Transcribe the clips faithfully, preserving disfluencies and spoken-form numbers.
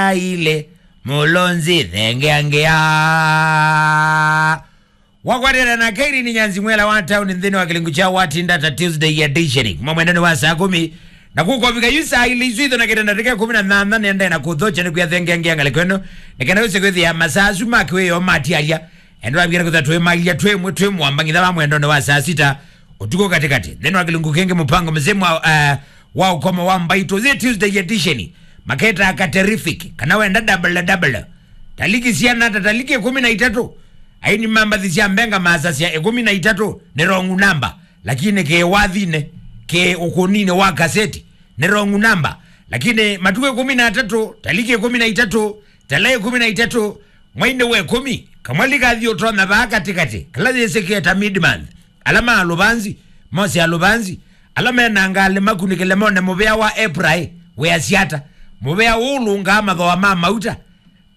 Aile, Mulonzi, thengeangea. Wakwatĩana na Kairini Nyanzi Mwela wa tauni nthĩnĩ wa kĩlungu kya Watinda ta Tuesday edition. Kuma mwendani wa saa kũmi. Na kũkovika yu saa ilĩ isu itho na kĩtenda tĩke kũmi na nana nenda na kũthokya nĩ kwĩya thengeangea ngalĩko ĩno. Nĩ kana wĩse kwĩthĩa masaa asu ma kĩwĩo matialya. Endo wabikana kũtha twĩ mailya twĩ mwe twĩ mwamba ngitha wa mwendone wa saa sita. Ũtukũ katĩkatĩ. Nthĩnĩ wa kĩlungu kĩngĩ mũpango mzima wa, eh, wa ũkomo wa mbaitũ. Zĩ Tuesday edition. Maketa ka terrific. Kana wenda double double. Taliki siana ta taliki ĩkũmi na itatũ. Aini mambathi sya mbenga masasya ĩkũmi na itatũ nĩ wrong number. Lakini kĩ wathinĩ, kĩ ũkũninĩ wa kaseti, nĩ wrong number. Lakini matukũ ĩkũmi na atatũ, taliki ĩkũmi na itatũ, tala ĩkũmi na itatũ, mwai-inĩ wa ĩkũmi, kamwali kathi ũtonya vaa katĩkatĩ, kala yĩsĩkĩe ta mid month. Ala ma Alũvanzi, mose Alũvanzi, ala mena ngalĩ makunĩkĩle mone mũvĩa wa April, wĩasya ata? Mũvĩa ũũ ũlũngaa mathooa ma mauta,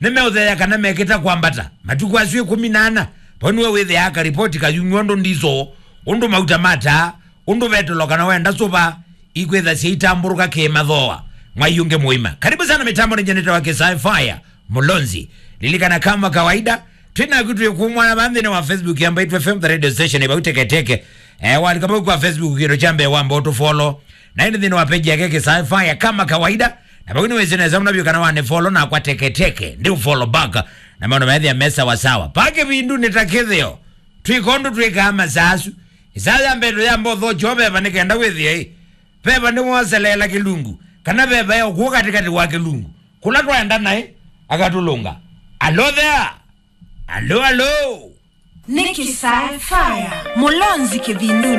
nĩmeũtheea kana mekĩta kwambata. Matukũ asu ĩkũmi na ana, vau nĩwe wĩthĩaa karipoti kayumw'a ũndũ ndisoo, ũndũ mauta mataa, ũndũ vetũlo kana wenda sũva, ikwĩtha syaitambũrũka kĩmathooa. Mwai ũngĩ mũima. Karibu sana mĩtambo nĩ Janeta wa Kisai Fire, Mulonzi. Lilikana kama kawaida, twĩ naku twĩ kumwana va nthĩnĩ wa Facebook ya Mbaitu F M, the radio station, ĩvau teketeke. Eh, walika vau kwa Facebook kĩndũ kya mbee wamba ũtũfollow. Na ĩndĩ nthĩnĩ wa page yake Kisai Fire kama kawaida. Na vau nĩwĩsĩ nesa mũno vyũ kana wanĩfollow nakwa teketeke. Ndi ũfollow back. Na maũndũ methĩa me sawa sawa. Pa kĩvindu nĩ ta kĩthĩo. Twĩka ũndũ twĩkaa masaa asu. Ĩsaa ya mbee tũyamba ũthokyo veva nĩ kenda wĩthĩe ĩ. Veva nĩwoseleela kĩlungu. Kana veva ya ũkũũ katĩkatĩ wa kĩlungu. Kũla twaenda naĩ, akatũlũnga. Alo there. Alo, alo. Nĩ Kisai Fire. Mulonzi kĩvindunĩ.